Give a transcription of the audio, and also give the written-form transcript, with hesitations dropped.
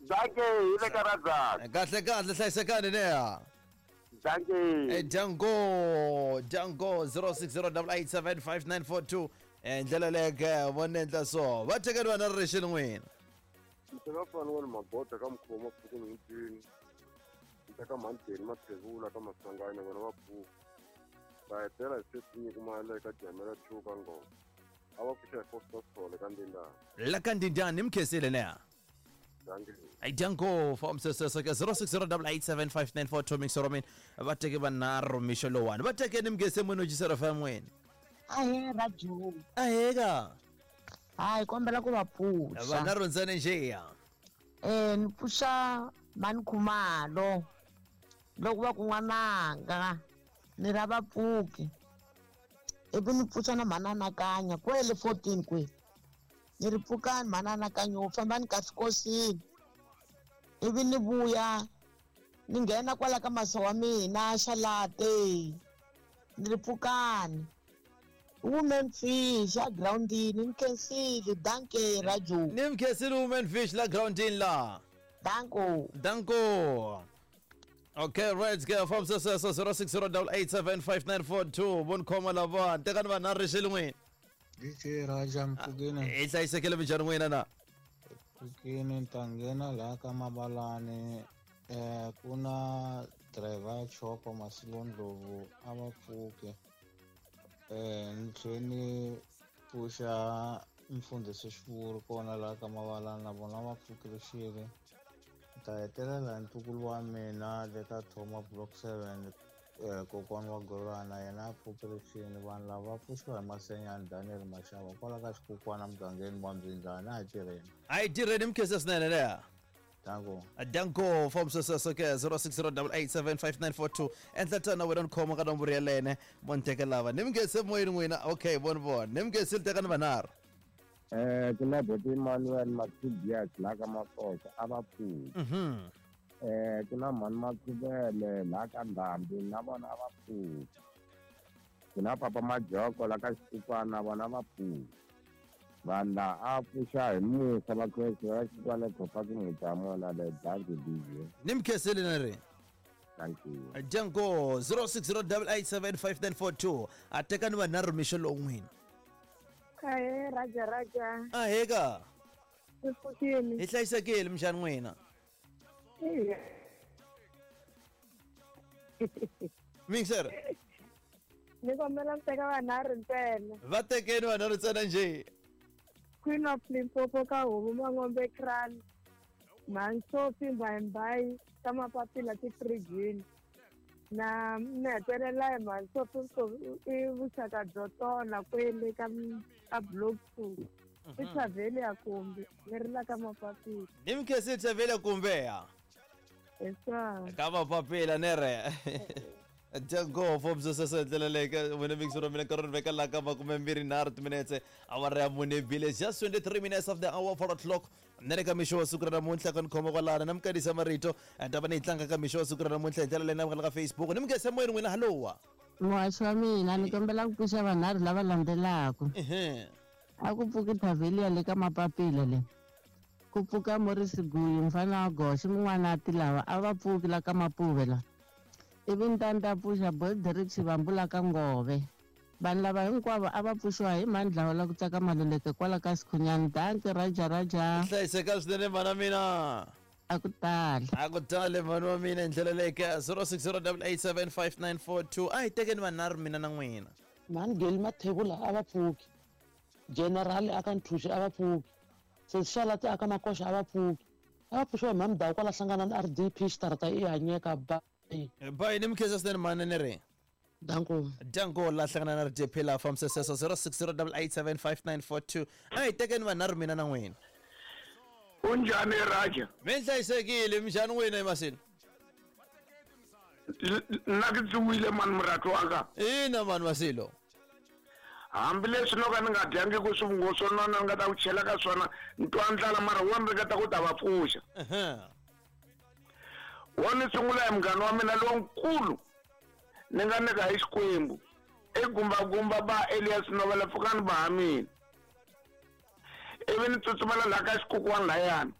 Danke hi le ka Radzaka. Kahle kahle hlayisekani neya. Danke. Eh, Django, Django 0608875942. Eh, ndlela leyo ke vona endla so. Va tekeni vana ri rixini n'wina. Ndzi nga fani wena magoda ka mukhuva mapfuku nhundini ndzi ta ka mhandeni mathevula ka masanganya vona va pfuka va hetela hi setinyiko mali eka jamela chuka ngoma a va pfuxa hi foster sole ka ndindana La ka ndindani mkhesile neya. danke Ay Django from sesese ke 0608875942 mixero mina va teke vanharhu mixo lowani. Va tekeni mkhese munhu jisera fa n'wina. Ahee Raju. Aheka. Hayi kombela ku va pfuxa. Vanharhu ntsena njeya. Eh ni pfuxa mani Khumalo loko va ku n'wananga ni ra va pfuki ivi ni pfuxa na mhani Anakanya kwele 14 kwe ni ri pfukani mhani Anakanya u fambani kahle kosini ivi ni vuya ni nghena kwala ka masa wa mina xalate ni ri pfukani woman fish a groundini ni khensile danke Raju Ni mkhesile woman fish la groundini la. Danko. Danko. Okay, right, ke from sesese 0608875942 von khoma lava tekani vanharhu rixini n'wina. DJ Raja mpfukeni Hi hlayisekile minjhani n'wina na? mpfukeni ni ta nghena laha ka Mabalani ku na driver ya chopa Masilo Ndlovu a va pfuke ni tlhe ni pfuxa mfundhisi Xivuri kona laha ka Mabalani na vona va pfukile xile ni ta hetelela hi ntukulu wa mina le ka Thoma Block 7 kokwani wa Golana yena a pfukile xini vanhu lava va pfuxiwa hi Masenyani Daniel Mashava kwala ka xikukwana mugangeni wa Mbyindlani a hi tirheni. A hi tirheni mkhese swinene leya. Danko. Danko from sesese ke 0608875942 endla tana wena ni khoma ka nomboro yelene vo ni teke lava ni mkhese moyeni n'wina okay voni vona ni mkhese ni tekani vanharhu. Ku na Boti Emmanuel Matibias la ka Makosa a va pfuki. Ku na Mhani Makhuvele la ka Ndhambi na vona a va pfuki. Ku na Papa Majoko la ka Xikukwana na vona va pfuki. Vanhu la a pfuxa hi musa va Kreste va Xikukwana Khopaki Mutamona le danke DJ. Ni mkhesile ni ri. Thank you. Django 0608875942 a tekani vanharhu mixo lowu n'wina. Ahee Raja Raja. Aheka. Mi pfukile. Hi hlayisekile minjhani n'wina? Eya. Mixer. Ni kombela mi teka vanharhu ntsena. Va tekeni vanharhu ntsena njhe. Queen of Limpopo ka Homu Mangombe Kral. Mhani Mbayimbayi ka Mapapila tifirijini. Na ni hetelela hi Mhani i vuxaka byo tona kwele ka ka block 2. I Chavelia kumbe ni ri la ka Mapapila. Ni mkhesile Chavelia kumbe ya. Hi swona. Ka Mapapila ni ri. Django from sesese ndlela leyi ka wena mixer wa mina nkarhi ri veka laha ka 23 timinetse awara ya mune bile just 23 minutes of the hour 4 o'clock ni ri ka mixo wa siku ra namuntlha ka ni khoma kwalano na mikanisa marito ta va ni yi tlanga ka mixo wa siku ra namuntlha hi ndlela leyi na ka Facebook ni mi moyeni n'wina hallowa Muhaxi wa mina ni kombela ku pfuxa vanharhu lava landzelaka. A ku pfuki Thavelia le ka Mapapila le. Ku pfuka Morris Guyu mfana wa Goxe mun'wana a ti lava a va pfuki la ka Mapuve la. Ivi ni ta ni ta pfuxa Boy Derek Xivambu la ka Ngove. Vanhu lava hinkwavo a va pfuxiwa hi mhani Dlawa la ku tsaka Maluleke kwala ka Sikhunyani. Danki Raja Raja. Hlayiseka swinene mhana mina. A ku tali. A ku tali mhani wa mina hi ndlela leyi ka 0608875942 a hi tekeni vanharhu mina na n'wina. Mhani Geli Mathebula a va pfuki. General a ka Nthuxi a va pfuki. Sesi Xalati a ka Makoxa a va pfuki. A va pfuxiwa hi mhani Mdawu kwala hlangana na RDP xitarata i hanyeka bye. Bye ni mi khensa swinene mhani ni ri. Danko. Danko la hlangana na RDP la fambisa sweswo 0608875942 a hi tekeni vanharhu mina na n'wina. Unjhani Raja? Mi hlayisekile minjhani n'wina emasini? Nna ke tsuwile mani muratu wa ka. Ina mani Masilo. Hambileswi no ka ni nga dyangi ku swivungu swo nona ni nga ta ku chela ka swona ni twa ndlala mara wo ni ringeta ku ta va pfuxa. Wo ni sungula hi munghana wa mina lonkulu ni nga nyika hi Xikwembu i gumbagumba ba Elias Novela pfukani ba ha mina ivi ni tsutsumela laha ka xikukwana layani.